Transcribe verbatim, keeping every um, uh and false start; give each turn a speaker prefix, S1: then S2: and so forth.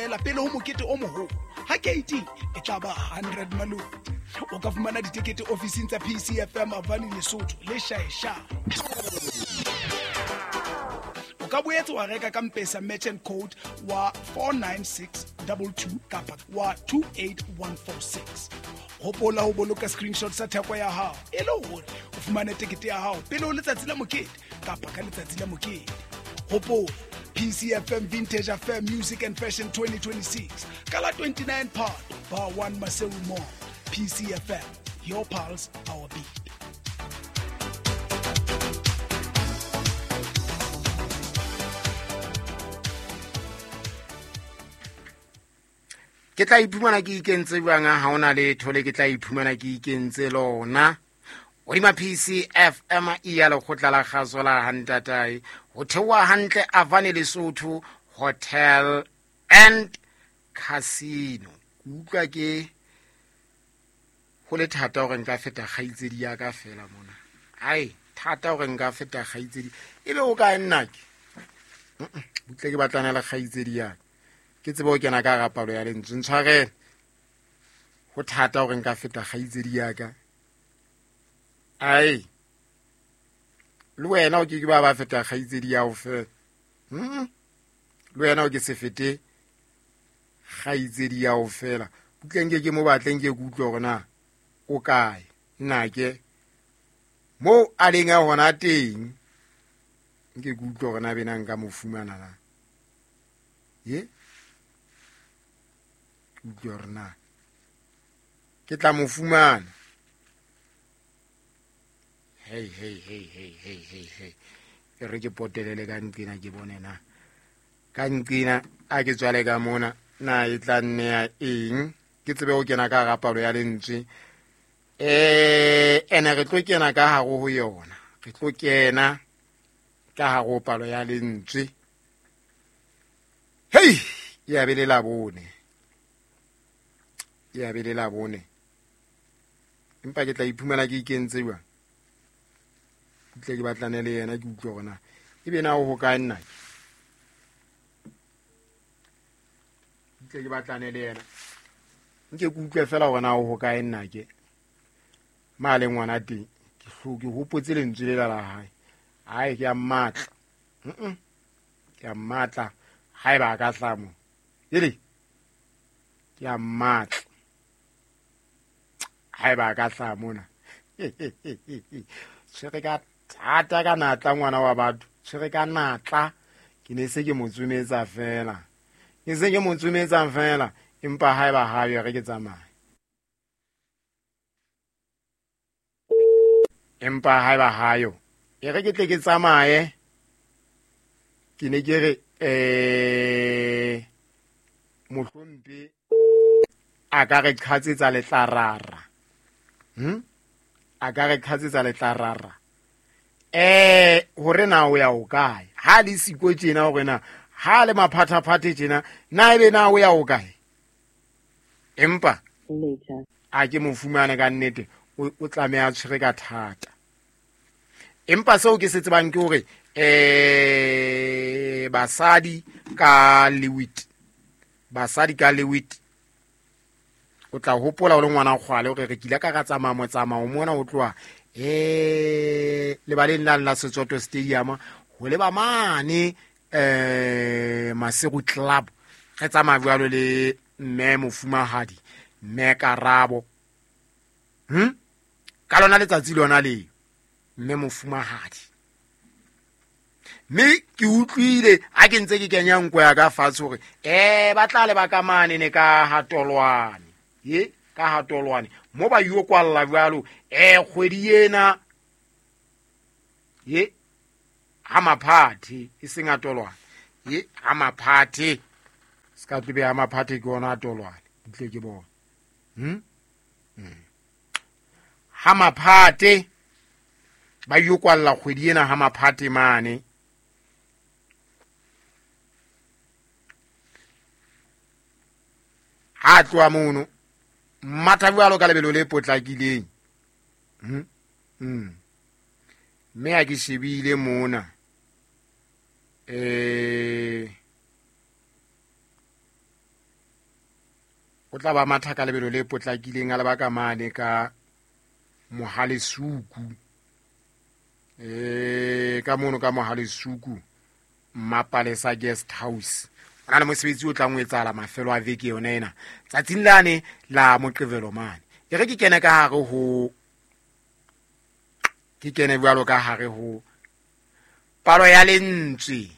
S1: feela pele ho mokete o moholo. Ha keiti e tla ba hundred maloti. O ka fumana ditekete ofising tsa P C F M Avani Lesotho le Shaeshae. O ka boetse wa reka ka M-Pesa merchant code wa four nine six two two kapa wa two eight one four six. Hopola ho boloka screenshot sa theko ya hao e le hore o fumane tekete ya hao pele ho letsatsi la mokete kapa ka letsatsi la mokete. Hopola P C F M Vintage Affair Music and Fashion twenty twenty-six. Kala twenty-nine Part Bar one Maseru Mall. P C F M, your pulse, our beat.
S2: Ke tla iphumana ke ikentse jwang ha hona letho le ke tla iphumana ke ikentse lona. Hodima P C F M e ya lekgotla la kgaso la Hantatae ho theoha hantle Avani Lesotho Hotel and Casino. Ke utlwa ke ho le thata hore nka feta kgaitsedi ya ka fela mona. Ai, thata hore nka feta kgaitsedi. Ebe o kae nna ke? Butle ke batlana le kgaitsedi ya ka. Ke tsebe ho kena ka hara palo ya lentswe. Ntshwarele. Ho thata hore nka feta kgaitsedi ya ka. Ai. Le wena o ke ke ba ba feta kgaitsedi ya ho fela. Hm? Le wena o ke se fete kgaitsedi ya ho fela. Butle nke ke mo batleng ke utlwe hore na o kae. Nna ke mo a leng a hona teng. Nke ke utlwe hore na bena nka mo fumana na. Ye? Utlwe hore na ke tla mo fumana. Hey hey hey hey hey hey hey. E re ke potelele ka nqina ke bone na. Ka nqina a ke tswale ka mona na e tla nneya eng? Ke tsebe ho kena ka hara palo ya lentswe. Eh ene re tlo kena ka hare ho yona. Re tlo kena ka hare ho palo ya lentswe. Hey, ya be le la bone. Ya be le la bone. Empa ke tla iphumana ke ikentse jwang? Tle ke batlane le yena ke utlwe hore na ebe na o ho kae nna. Tle ke batlane le yena. Nke ke utlwe fela hore na o ho kae nna ke. Ma le ngwana teng ke hloke hopotse lentswe le la hae. Ai ke a mmatla. Mhm. Ke a mmatla haeba ka hlamo. Ele. Ke a mmatla. Haeba ka hlamo na. Tshwere ka thata ka natla ngwana wa batho. Tshwere ka natla. Ke ne se ke mo tsometsa fela. Ke se ke mo tsometsa fela empa haeba ha yo re ke tsamaye. Empa haeba ha yo e re ke tle ke tsamaye. Ke ne ke re eh mohlompe a ka re qhatsetsa letlarara. Hm? A ka re qhatsetsa letlarara. Eh hore na o ya o kae? Ha le siko tjena hore na ha le maphathaphathe tjena na ebe na o ya o kae? Empa a ke mo fumane ka nnete o tlameha tshwere ka thata. Empa seo ke se tsebang ke hore eh basadi ka lewit. Basadi ka lewit. O tla hopola o le ngwana kgwale hore re kile ka ka tsamaya motsamao mona o tloha eh lebaleng la la Setsoto Stadium ho leba mane eh Maseru Club. Re tsamaya jwalo le mme mofumahadi mme Karabo. Hm? Ka lona letsatsi lona leo mme mofumahadi. Mme ke utlwile ha ke ntse ke kenya nko ya ka fatshe hore eh ba tla le ba ka mane ne ka hatolwane. Ye ka hatolwane mo ba yo kwalla jwalo eh kgwedi ena ye ha maphathe e seng atolwane ye ha maphathe ska tlibe ha maphathe ke ona atolwane ntle ke bona. Hm? Ha maphathe ba yo kwalla kgwedi ena ha maphathe mane. Ha tloha mono mmatha jwalo ka lebelo le potlakileng. Hm? Hm. Mme ha ke shebile mona eh O tla ba matha ka lebelo le potlakileng a leba ka mane ka Mohalesuku. Eh ka mono ka Mohalesuku Mmapalesa Guest House. Ho na le mosebetsi o tlang ho etsahala mafelo a veke yona ena. Tsatsing lane la Moqebelo mane. E re ke kene ka hare ho ke kene jwalo ka hare ho palo ya lentswe.